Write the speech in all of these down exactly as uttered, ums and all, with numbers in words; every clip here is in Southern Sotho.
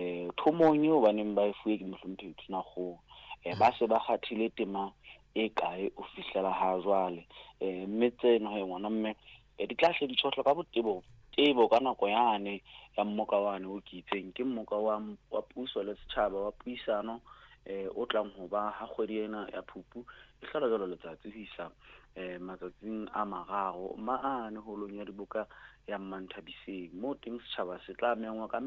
eh thomong eo ba neng ba e fuwe ke mohlomphehi Tonakgolo, eh ba se ba kgathile tema e kae o fihlela ha jwale. Eh mme tseno he ngwana mme di tla hle di tshohlwa ka botebo tebo ka nako yane ya mmoka wane o ke itseng ke mmoka wa wa puso le setjhaba wa puisano eh o tlang ho ba ha kgwedi ena ya Phupu e hlola jwalo letsatsi ho isa eh matsatsing a mararo mane holong ya diboka ya Mmanthabiseng, moo teng setjhaba se tla mengwa ka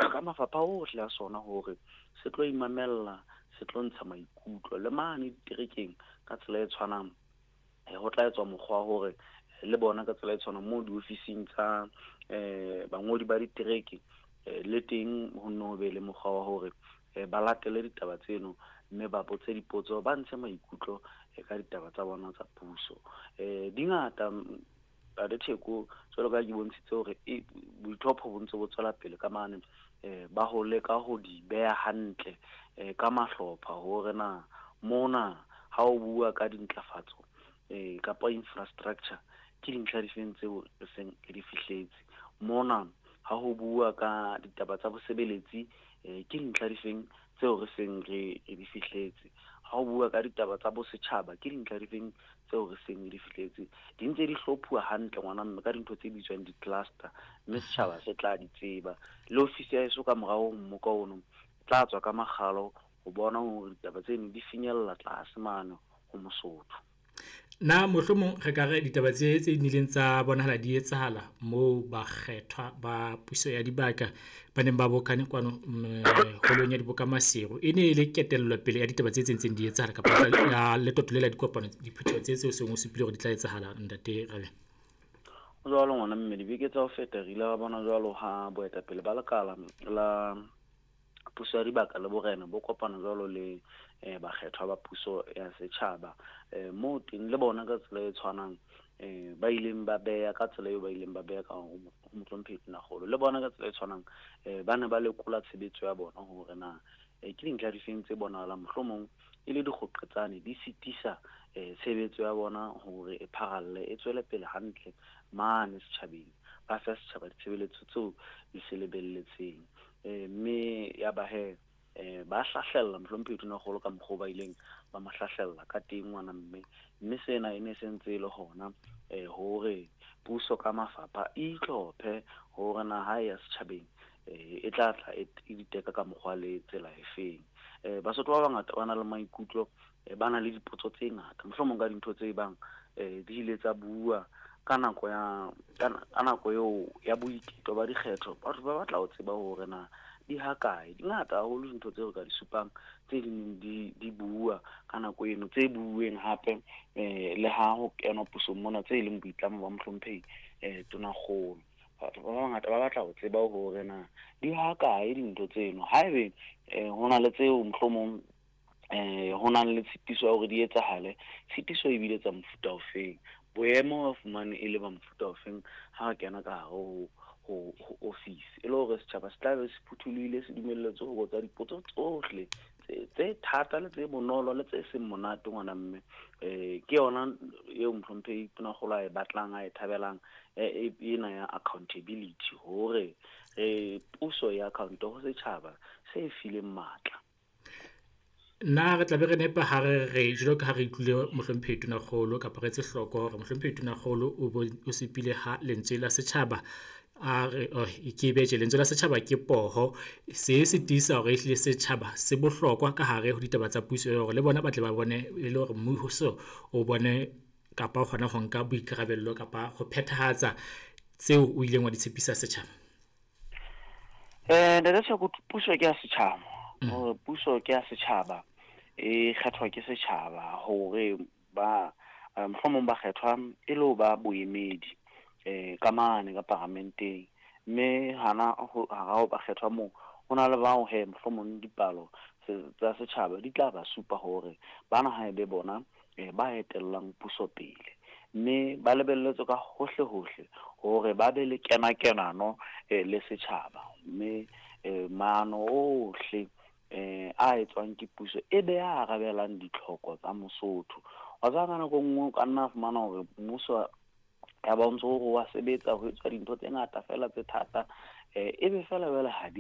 ka mafapha ohle a sona hore se tlo imamella, se tlo ntsha maikutlo le mane diterekeng ka tsela e tshwanang. Ho tla etswa mokgwa wa hore le bona ka tsela e tshwanang moo diofising tsa eh bangodi ba ditereke le teng ho nno be le mokgwa wa hore ba latele ditaba tseno mme ba botse dipotso, ba ntshe maikutlo ka ditaba tsa bona tsa puso. Eh di ngata Ntate Theko, jwalo ka ke bontshitse hore boitlhopho bo ntse bo tswela pele ka mane eh ba ho leka ho di beha hantle eh ka mahlopha hore na mona ha o bua ka dintlafatso eh kapa infrastructure ke dintlha difeng tseo re seng re di fihletse, mona ha ho bua ka ditaba tsa bosebeletsi eh ke dintlha difeng tseo re seng re di fihletse, ha o bua ka ditaba tsa bosetjhaba ke dintlha difeng tseo re seng re di fihletse. Di ntse di hlophuwa hantle ngwana mme ka dintho tse bitswang di-cluster, mme setjhaba se tla di tseba. Le ofisi ya heso ka morao ho mmoka ono tla tswa ka makgalo ho bona hore ditaba tseno di finyella tlase mane ho Mosotho. Na mohlomong re ka re ditaba tse tse nnileng tsa bonahala di etsahala moo bakgethwa ba puso ya dibaka ba neng ba bokane kwano holong ya diboka Maseru e ne e le ketellopele pele ya ditaba tse tse ntseng di etsahala kapa ya letoto le la dikopano diphutheho tse tseo seng o supile hore di tla etsahala ntate Rabeng? Jwalo ngwana mme, dibeke tsa ho feta re ile ra bona jwalo ha boetapele ba lekala la puso ya dibaka le borena bo kopana jwalo le eh bakgethwa ba puso ya setjhaba, eh moo teng le bona ka tsela e tshwanang eh ba ileng ba beha ka tsela eo ba ileng ba beha ka ho mohlomphehi Tonakgolo, le bona ka tsela e tshwanang eh ba ne ba lekola tshebetso ya bona hore na ke dintlha difeng tse bonahalang mohlomong e le dikgoqetsane di sitisa eh tshebetso ya bona hore e pharalle e tswele pele hantle mane setjhabeng, ba fe setjhaba ditshebeletso tseo di se lebelletseng. Eh mme ya ba he eh ba hlahlella mohlomphehi Tonakgolo ka mokgwa ba ileng ba mo hlahlella ka teng ngwana mme, mme sena e ne se ntse e le hona eh hore puso ka mafapha e itlhophe hore na ha ya setjhabeng eh e tla tla e diteka ka mokgwa le tsela e feng. Eh Basotho ba bangata ba na le maikutlo, ba na le dipotso tse ngata mohlomong ka dintho tse bang eh di ile tsa bua ka nako ya ka nako eo ya boiketo ba dikgetho. Batho ba batla ho tseba hore na di ha kae, di ngata haholo dintho tseo re ka di supang tse ding di di bua ka nako eno, tse bueng hape eh le ha ho kenwa pusong mona tse leng boitlamo ba mohlomphehi eh Tonakgolo. Batho ba bangata ba batla ho tseba hore na di ha kae dintho tseno, haebe eh ho na le tseo mohlomong eh ho na le tshitiso ya hore di etsahale, tshitiso e bile tsa mofuta ofeng, boemo ba fumane e le ba mofuta ofeng ha re kena ka hare ho ho ho office, e le hore setjhaba se tla be se phuthulohile, se dumelletswe ho botsa dipotso tsohle tse tse thata le tse bonolo le tse seng monate ngwana mme. Eh ke yona eo mohlomphehi Tonakgolo a e batlang, a e thabelang ena ya accountability, hore re puso ya account ho setjhaba se fileng matla. Na re tla be re nepa ha re re jwalo ka ha re utlwile mohlomphehi Tonakgolo kapa re etse hloko hore mohlomphehi Tonakgolo o bo o supile ha lentswe la setjhaba a re ke betjhe lentswe la setjhaba ke poho, se se tiisa hore ehlile setjhaba se bohlokwa ka hare ho ditaba tsa puso hore le bona ba tle ba bone e le hore mmuso o bone kapa o kgona ho nka boikarabello kapa ho phethahatsa tseo o ileng wa di tshepisa setjhaba? Eh Ntate Theko, puso ke ya setjhaba, hore puso ke ya setjhaba e kgethwa ke setjhaba hore ba mohlomong ba kgethwa e le ho ba boemedi eh ka mane ka paramenteng, mme hana ho ha ba kgethwa moo ho na le bao he mohlomong dipalo tsa setjhaba di tla ba supa hore bana ha ebe bona ba etellang puso pele, mme ba lebelletswe ka hohle hohle hore ba be le kenakenano le setjhaba, mme maano ohle eh a etswang ke puso e be a arabelang ditlhoko tsa Mosotho. Wa tseba ka nako e nngwe o ka nna fumana hore mmuso ya ba o ntso o wa sebetsa ho etswa dintho tse ngata fela tse thata, eh ebe fela jwale ha di